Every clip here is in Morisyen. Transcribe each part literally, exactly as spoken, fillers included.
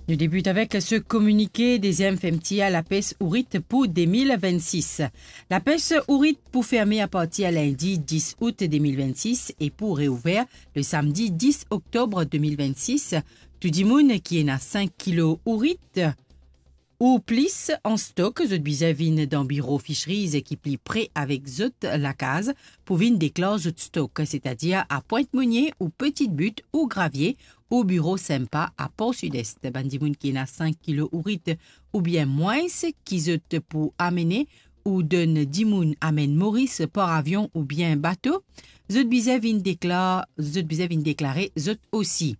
Nou debit avek se kominike, deziem fermtir lapes ourit pou de mil vennsis. Lapes ourit pou ferme apartir lindi dis out de mil vennsis e pou reouver le samdi dis oktob de mil vennsis. Tou dimoun ki ena sink kilo ourit ou plis an stok, zot bizin vinn dan biro Fisheries ki pli pre avek zot lakaz pou vinn deklar zot stok, setadir a Pwint Monie ou Petite Butte ou Gravier, ou biro SEMPA a Port Sud-Est. Bann dimoun ki ena sink kilo ourit oubien mwins ki zot pou amene ou donn dimoun amenn Moris par avion oubien bato, zot bizin vinn deklar, zot bizin vinn deklare zot osi.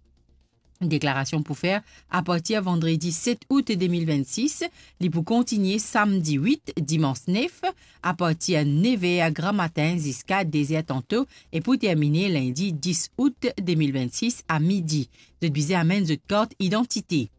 Deklarasion pou fer apartir vandredi set out de mil vennsis, li pou kontigne samdi wit, dimans nef, apartir nef er gramatin ziska de zer tanto e pou termine lindi dis out de mil vennsis a midi. Zot bizin amenn zot kart idantite.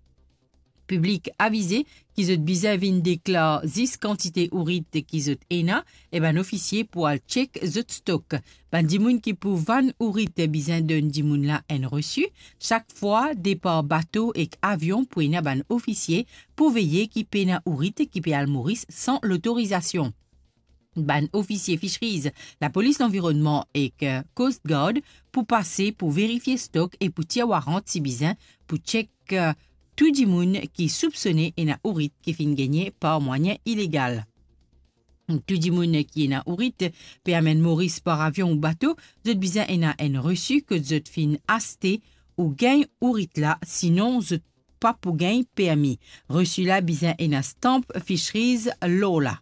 Piblik avize ki zot bizin vinn deklar zis kantite ourit ki zot ena, e bann ofisie pou al chek zot stok. Bann dimoun ki pou vann ourit bizin donn dimoun la enn resi. Sak fwa depar bato ek avion pou ena bann ofisie pou veye ki pena ourit ki pe al Moris san lotorizasion. Bann ofisie Fisheries, Lapolis Lanvironnman ek, eh, Coast Guard pou pase pou verifie stok e pou tir warant si bizin pou chek, eh, tou dimoun ki soupsone ena ourit ki finn gagne par mwayin ilegal. Tou dimoun ki ena ourit pe amenn Moris par avion ou bato, zot bizin ena enn resi kot zot finn aste ou gagn ourit la, sinon zot pa pou gagn permi. Resi la bizin ena stamp Fisheries lor la.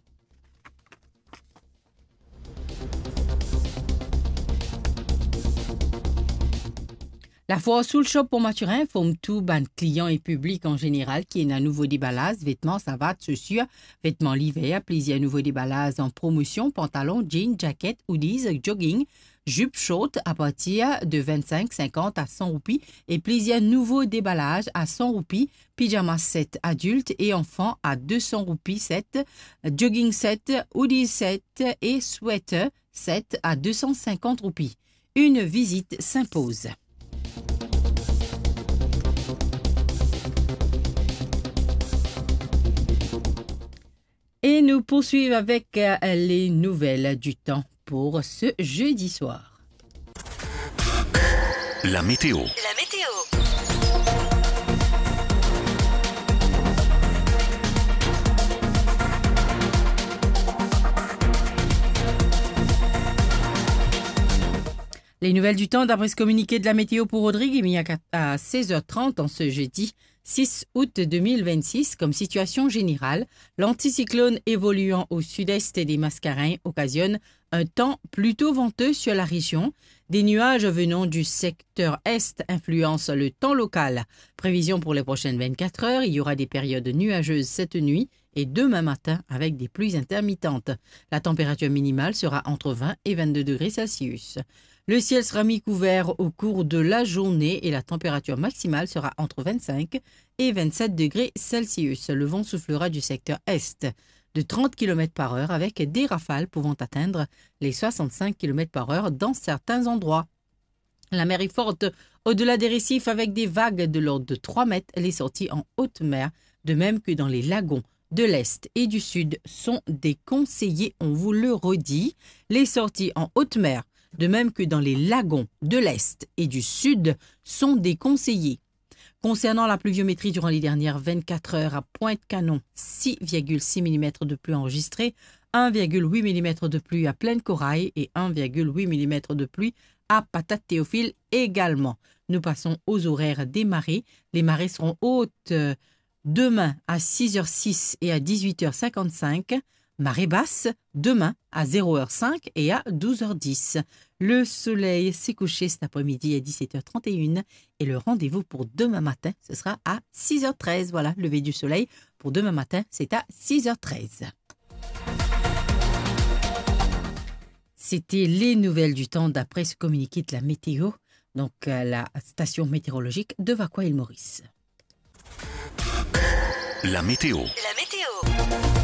Lafoire Soul Shop Pont Mathurin inform tou bann klian e piblik an zeneral ki ena nouvo debalaz vetman savat, sosir, vetman liver, plizier nouvo debalaz an promosion, pantalon, jean, jaket, hoodies, jogging, zip short apartir de vennsenk, sinkant a san roupi e plizier nouvo debalaz a san roupi, pijama set adilt e anfan a de san roupi set, jogging set, hoodie set e sweater set a de san sinkant roupi. Une visite s'impose. Et nous poursuivons avec, euh, les nouvelles du temps pour ce jeudi soir. La météo. La météo. Les nouvelles du temps, d'après ce communiqué de la météo pour Rodrigue, il y a à seize heures trente en ce jeudi six août deux mille vingt-six, comme situation générale, l'anticyclone évoluant au sud-est des Mascareignes occasionne un temps plutôt venteux sur la région. Des nuages venant du secteur est influencent le temps local. Prévision pour les prochaines vingt-quatre heures, il y aura des périodes nuageuses cette nuit et demain matin avec des pluies intermittentes. La température minimale sera entre vingt et vingt-deux degrés Celsius. Le ciel sera mi-couvert au cours de la journée et la température maximale sera entre vingt-cinq et vingt-sept degrés Celsius. Le vent soufflera du secteur est de trente kilomètres par heure avec des rafales pouvant atteindre les soixante-cinq kilomètres par heure dans certains endroits. La mer est forte au-delà des récifs avec des vagues de l'ordre de trois mètres. Les sorties en haute mer, de même que dans les lagons de l'Est et du Sud, sont déconseillées. On vous le redit, les sorties en haute mer, de même que dans les lagons de l'Est et du Sud, sont déconseillées. Concernant la pluviométrie durant les dernières vingt-quatre heures, à Pointe-Canon, six virgule six millimètres de pluie enregistrée, un virgule huit millimètres de pluie à Plaine-Corail et un virgule huit millimètres de pluie à Patate-Théophile également. Nous passons aux horaires des marées. Les marées seront hautes, euh, demain à six heures six et à dix-huit heures cinquante-cinq. Marée basse demain à zéro heure cinq et à douze heures dix. Le soleil s'est couché cet après-midi à dix-sept heures trente et une et le rendez-vous pour demain matin, ce sera à six heures treize. Voilà, lever du soleil pour demain matin, c'est à six heures treize. C'était les nouvelles du temps d'après ce communiqué de la météo, donc, euh, la station météorologique de Vacoas-Île Maurice. La météo. La météo.